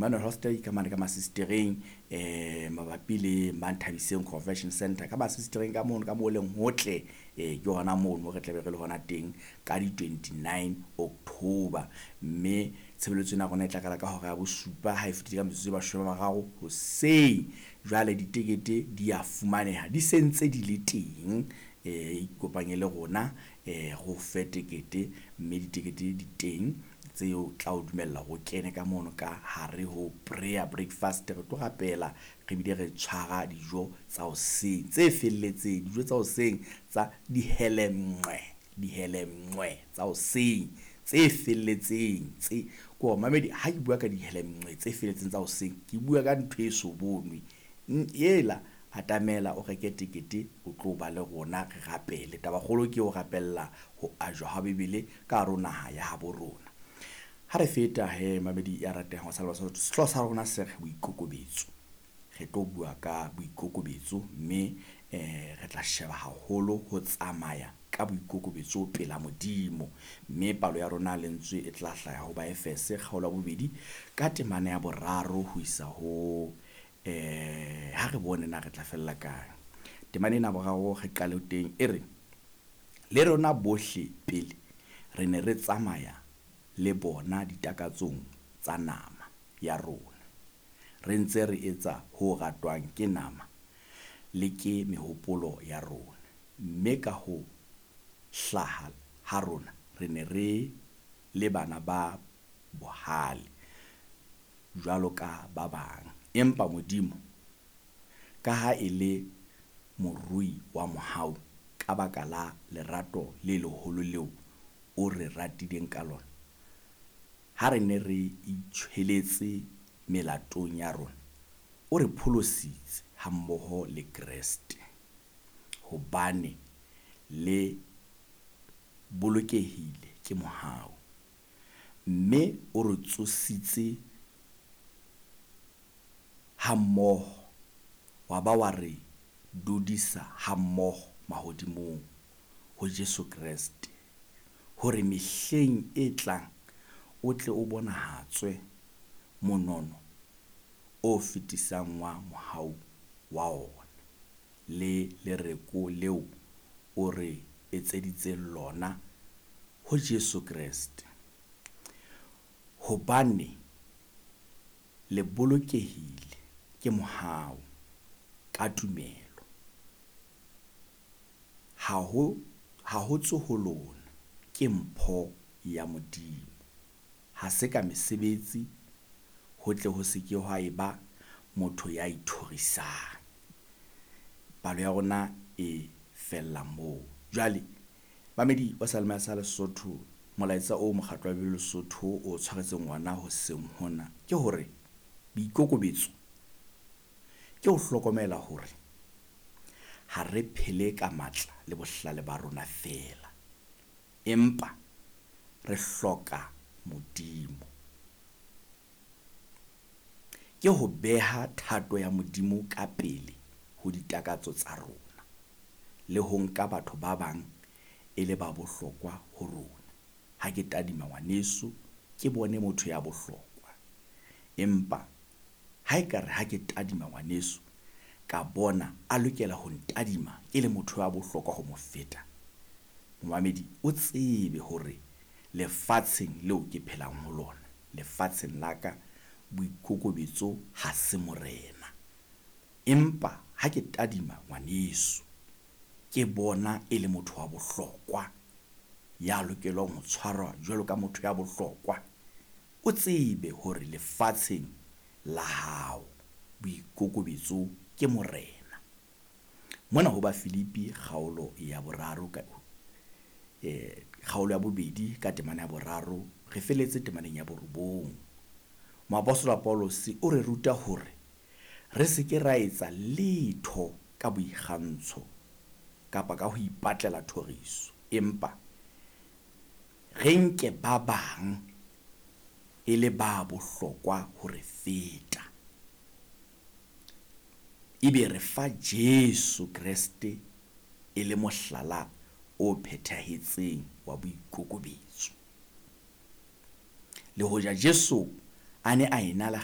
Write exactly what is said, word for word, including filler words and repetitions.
Emmanuel Hostel ka mane ka Masistereng, eh mabapi le Manthabiseng Convention Center ka Masistereng ka mono ka mo leng hotle, eh ke hona mono re tlabe re le hona teng ka di twenty-nine October. Mme tshebeletso ena ya rona e tla qala ka hora ya bosupa ha e fetile ka metsotso e mashome a mararo hoseng. Jwale ditekete di a fumaneha, di sentse di le teng, eh ikopanye le rona, eh re o fe tekete, mme ditekete di teng tseo tla o dumella hore o kene ka mono ka hare ho prayer breakfast. Re tlo rapela re bile re tshwara dijo tsa hoseng tse felletseng, dijo tsa hoseng tsa dihelemnqwe, dihelemnqwe tsa hoseng tse felletseng tse ko mamedi. Ha ke bua ka dihelemnqwe tse felletseng tsa hoseng, ke bua ka ntho e so bonwe ela. Atamela o reke tekete, o tlo ba le rona re rapele. Tabakgolo ke ho rapella ho ajwa ha Bibele ka hare ho naha ya habo rona. Ha re feta he mamedi ya ratehang wa Salwa Sesotho, sehlooho sa rona se re boikokobetso. Re tlo bua ka boikokobetso mme eh re tla sheba haholo ho tsamaya ka boikokobetso pela Modimo. Mme palo ya rona lentswe e tla hlaha ho Baefese kgaolo ya bobedi ka temana ya boraro ho isa ho eh ha re bone na re tla fella kae. Temana ena boraro re qale teng e re, le rona bohle pele re ne re tsamaya le bona ditakatsong tsa nama ya rona, re ntse re etsa ho ratwang ke nama le ke mehopolo ya rona, mme ka ho hlaha ha rona re ne re le bana ba bohale jwalo ka ba bang. Empa Modimo, ka ha e le morui wa mohau, ka baka la lerato le leholo leo o re ratileng ka lona, ha re ne re itjhweletse melatong ya rona, o re pholositse hammoho le Kreste, hobane le bolokehile ke mohau, mme o re tsositse hammoho, wa ba wa re dudisa hammoho mahodimong ho Jesu Kreste, hore mehleng e tlang o tle o bonahatswe monono o fetisang wa mohau wa ona, le lereko leo o re etseditseng lona ho Jesu Kreste. Hobane le bolokehile ke mohau ka tumelo, ha ho ha ho tswe ho lona, ke mpho ya Modimo, ha se ka mesebetsi, ho tle ho se ke ha eba motho ya ithorisang. Palo ya rona e fella moo. Jwale mamedi wa Salema sa Lesotho, molaetsa o mokgatlo wa Bibele Lesotho o tshwaretseng ona hoseng hona ke hore boikokobetso ke ho hlokomela hore ha re phele ka matla le bohlale ba rona feela, empa re hloka Modimo. Ke ho beha thato ya Modimo ka pele ho ditakatso tsa rona, le ho nka batho ba bang e le ba bohlokwa ho rona. Ha ke tadima ngwaneso ke bone motho ya bohlokwa, empa ha ekare ha ke tadima ngwaneso ka bona a lokela ho ntadima ke le motho ya bohlokwa ho mo feta, momamedi o tsebe hore lefatsheng leo ke phelang ho lona, lefatsheng la ka, boikokobetso ha se morena. Empa ha ke tadima ngwaneso ke bona e le motho wa bohlokwa ya lokelwang ho tshwarwa jwalo ka motho ya bohlokwa, o tsebe hore lefatsheng la hao boikokobetso ke morena. Mona ho Bafilipi kgaolo ya boraro ka eh kgaolo ya bobedi ka temana ya boraro re feletse temaneng ya borobong. Moapostola Paulus o re ruta hore re se ke ra etsa letho ka boikgantsho kapa ka ho ipatlela thoriso, empa re nke ba bang e le ba bohlokwa ho re feta, ebe re fa Jesu Kreste e le mohlala o phethahetseng wa boikokobetso. Le hoja Jesu a ne a ena le